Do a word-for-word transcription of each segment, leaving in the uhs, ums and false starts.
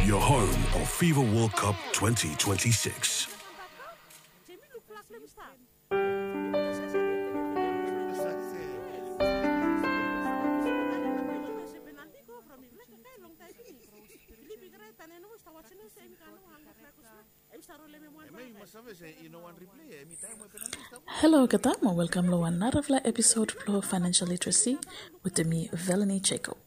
Your home of FIFA World Cup twenty twenty-six. Halo olgeta mo welkam long wan narafala episod blong Financial Literacy wetem mi, Velanie Jacob.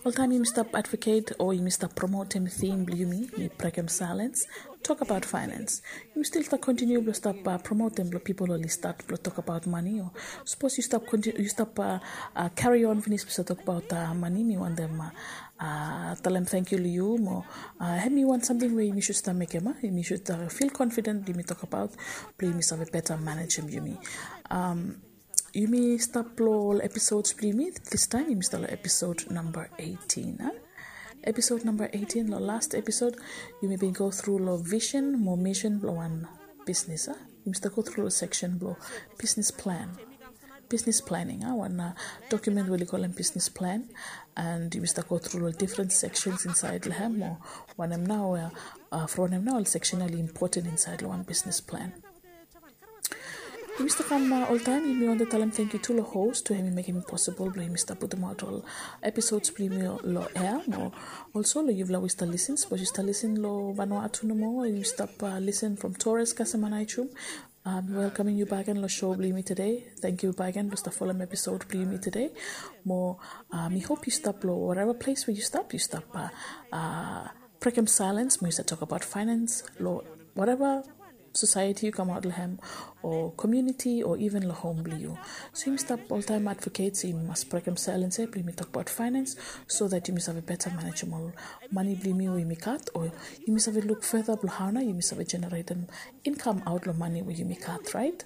Oltaem yumi stap advocate o yumi stap promotem theme blong yumi, mi brekem silence, tok abaot finance. Yumi stil stap kontiniu blong stap promotem blong pipol oli stat blong tok abaot mane o sapos yu stap carry on finis blong stap tok abaot mane, mi wantem talem tangkiu long yu mo hemi wan samting we yumi sud stap mekem, yumi sud fil confident blong yumi tok abaot blong yumi save beta manejem yumi. Yumi stap long ol episods blong yumi, distaem yumi stap long episod namba eighteen. Episod namba eighteen, long last episod yumi bin go tru long vision mo mission blong wan bisnis. Yumi stap go tru long seksen blong business plan, business planning, wan document we oli kolem business plan. And yumi stap go tru long different sections insaed long hem o wanem nao from wanem nao ol seksen oli impoten insaed long wan business plan. Yumi stap kam oltaem, yumi wantem talem tangkiu tu long host we hemi mekem i posibol blong yumi stap putumaot ol episods blong yumi long air mo also long yufala we yu stap lisen, sapos yu stap lisen long Vanuatu nomo, yu stap lisen from Torres kasem Aneityum, mi welkamem yu bakegen long show blong yumi tede. Tangkiu bakegen blong stap folem episod blong yumi tede. Mo mi hop yu stap long whatever ples we yu stap, yu stap brekem silence mo yu stap tok abaot finance long whatever society yu kamaot long hem o community o even long hom blong yu. So yumi stap oltaem advocate se yumi mas brekem silence ia blong yumi tok abaot finance so that yumi save beta manejem ol mane blong yumi we yumi gat o yumi save luk further blong hao nao yumi save generatem income aot long mane we yumi gat, right?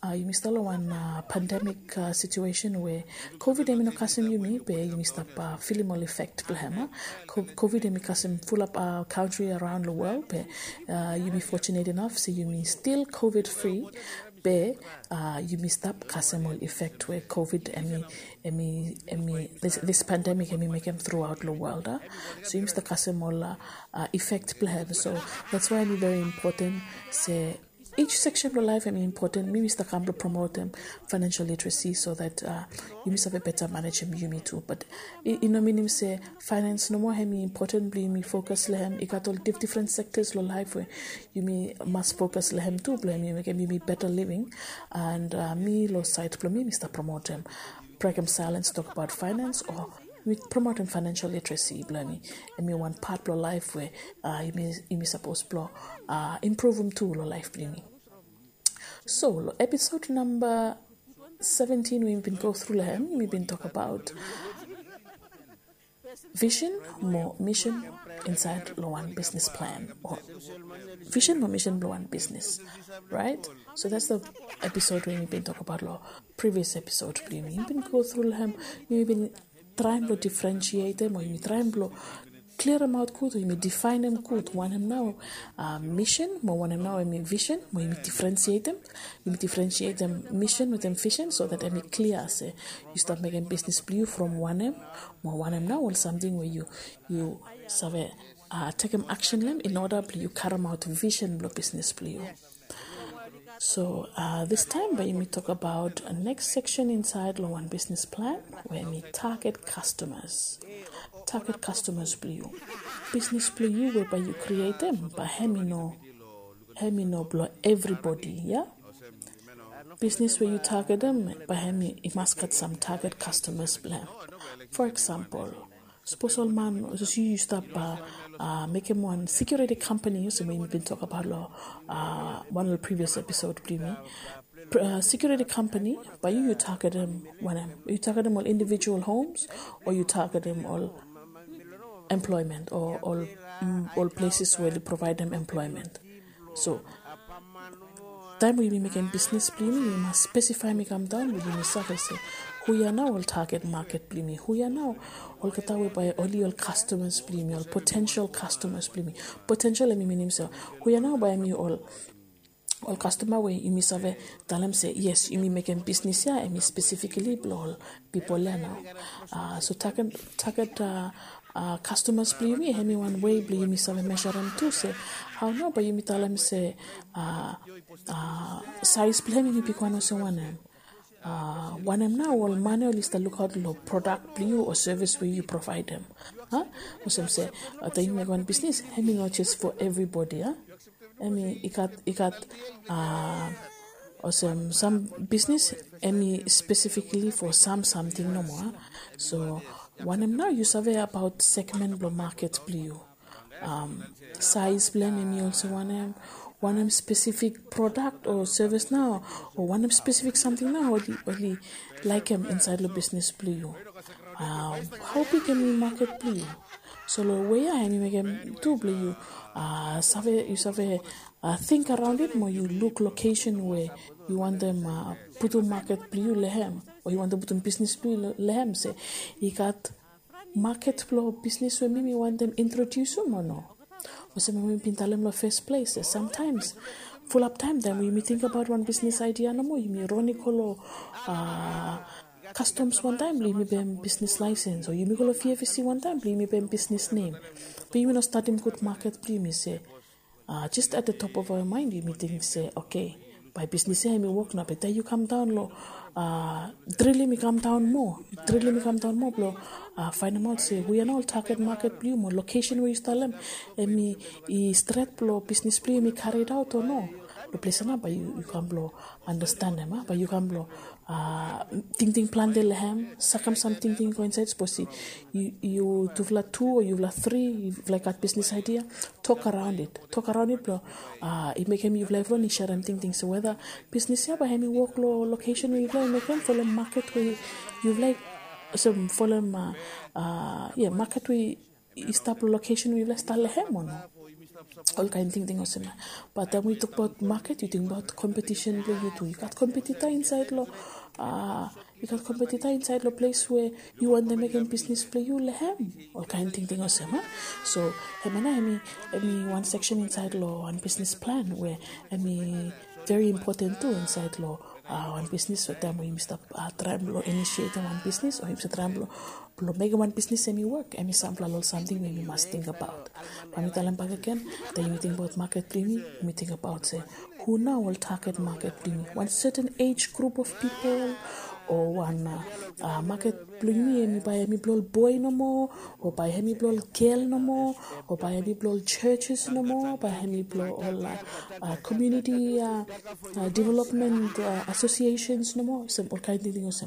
Yumi stap long wan pandemic situation we COVID hemi no kasem yumi be yumi stap filim ol effect blong hem. COVID hemi kasem fulap kantri araon long world be yumi fortunate enough se yumi stil COVID free be yumi stap kasem ol effect we COVID hemi, hemi, hemi this pandemic hemi mekem throughout long world. So yumi stap kasem ol effect blong hem. So that's why hemi very important se each section blong laef hemi important. Mi mi stap kam blong promotem financial literacy so that yumi save beta manejem yumi tu. But i no minim se finance nomo hemi important blong yumi fokas long hem. I gat ol difdifren sectors long laef we yumi mas fokas long hem tu blong hemi mekem yumi beta living. And mi long saed blong mi mi stap promotem, brekem silence, tok abaot finance o mi promotem financial literacy blong hemi, hemi wan pat blong laef we yumi sapos blong impruvum tu long laef blong yumi. So long episod namba seventeen we yumi bin go tru long hem, yumi bin tok abaot vision mo mission insaed long wan business plan o vision mo mission blong wan business, right? So that's the episode we yumi bin tok abaot long previous episode blong yumi. Yumi bin go tru long hem, yumi bin traem blong differentiatem o yumi traem blong kliaremaot gud o yumi difaenem gud wanem nao mission mo wanem nao hemi vision mo yumi differentiatem. Yumi differentiatem mission wetem vision so that hemi klia se yu stap mekem bisnis blong yu from wanem mo wanem nao ol samting we yu, yu save tekem aksen long hem in order blong yu karemaot vision blong bisnis blong yu. So distaem bae yumi tok abaot neks seksen insaed long wan bisnis plan we hemi target customers. Target customers blong yu. Bisnis blong yu we bae yu krietem bae hemi no, hemi no blong evribodi, ia. Bisnis we yu targetem bae hemi, i mas gat sam target customers blong hem. For example, sapos ol man, sapos yu, yu stap mekem wan security company olsem we yumi bin tok abaot long wan ol previous episode blong yumi. Security company, bae yu, yu targetem wanem? Yu targetem ol individual homes o yu targetem ol employment o ol, ol places we oli provaedem employment? So taem we yumi mekem bisnis blong yumi, yumi mas spesifaem i kamdaon blong yumi save se hu ia nao ol target market blong yumi, hu ia nao olgeta we bae oli ol customers blong yumi, ol potential customers blong yumi. Potential hemi minim se hu ia nao bae hemi ol, ol customer we yumi save talem se yes, yumi mekem bisnis ia hemi specifically blong ol pipol ia nao. So target, target uh, customers blong yumi, hemi wan wei blong yumi save measure hem tu se hao nao bae yumi talem se uh, uh, size blong hem i bigwan olsem wanem. Uh, wanem nao ol mane oli stap lukaot long product blong yu o service we yu provide hem. Huh? Olsem se uh, taem yumi mekem wan bisnis, hemi no just for everybody. Huh? Hemi i gat i gat uh, olsem sam bisnis hemi specifically for sam samting nomo. Huh? So wanem nao yu save abaot segment blong market blong yu. Um, size blong hem hemi olsem wanem, wanem specific product o service nao o wanem specific samting nao oli oli laekem insaed long bisnis blong yu. Uh, hao big hemi market blong yu. So long wei ya hemi mekem tu blong yu uh, save yu save uh, think around it mo yu luk location we yu wantem uh, putum market blong yu long hem o yu wantem putum bisnis blong yu long hem se i gat market blong bisnis we mi mi wantem introdiusim o no. Olsem we mi bin talem long first place se sometimes fulap taem taem we yumi tingbaot wan bisnis idea nomo yumi ron i go long uh, customs wantaem blong yumi baem bisnis license o yumi go long V F C wantaem blong yumi baem bisnis nem. Be yumi no stadim gud market blong yumi se uh, just at the top of our mind yumi ting se okay, bae bisnis ya hemi wok nao be taem yu kamdaon long uh, drill hemi kamdaon moa, drill hemi kamdaon moa blong uh, faenemaot se hu ya nao ol target market blong yu mo location we yu stap long hem hemi i stret blong bisnis blong yu hemi carried out o no. Long ples ya nao bae yu kam blong understand hem, bae yu kam blong uh, tingting plante long hem, sakem sam tingting go insaed sapos yu tufala tu o yufala tri yufala i gat bisnis idea, tok araon it tok araon it blong uh, i mekem yufala evriwan i serem tingting se weda bisnis ya bae hemi wok long location we yufala i mekem folem market we yufala i olsem folem uh, uh, yeah, market we i stap long location we yufala i stap long hem o no. Ol kaen tingting olsem ya. Bat taem we yu tokbaot market yu tingbaot competition blong yu tu yu gat competitor insaed long uh, yu gat competitor insaed long ples we yu wantem mekem bisnis blong yu long hem. Ol kaen tingting olsem ya. So hemia nao hemi hemi wan section insaed long wan bisnis plan we hemi very important tu insaed long uh, wan bisnis we taem we yumi stap uh, traem blong initiatem wan bisnis o yumi stap traem blong blong mekem wan bisnis hemi wok hemi sampela long ol samting we yumi mas tingbaot. Bae mi talem bakegen taem yumi tingbaot market blong yumi yumi tingbaot se hu nao ol target market blong yumi wan certain age group of people o wan uh, uh, market blong yumi hemi bae hemi blong ol boe nomo o bae hemi blong ol gel nomo o bae hemi blong ol churches nomo bae hemi blong ol uh, uh, community uh, uh, development uh, associations nomo olsem ol kaen tingting olsem.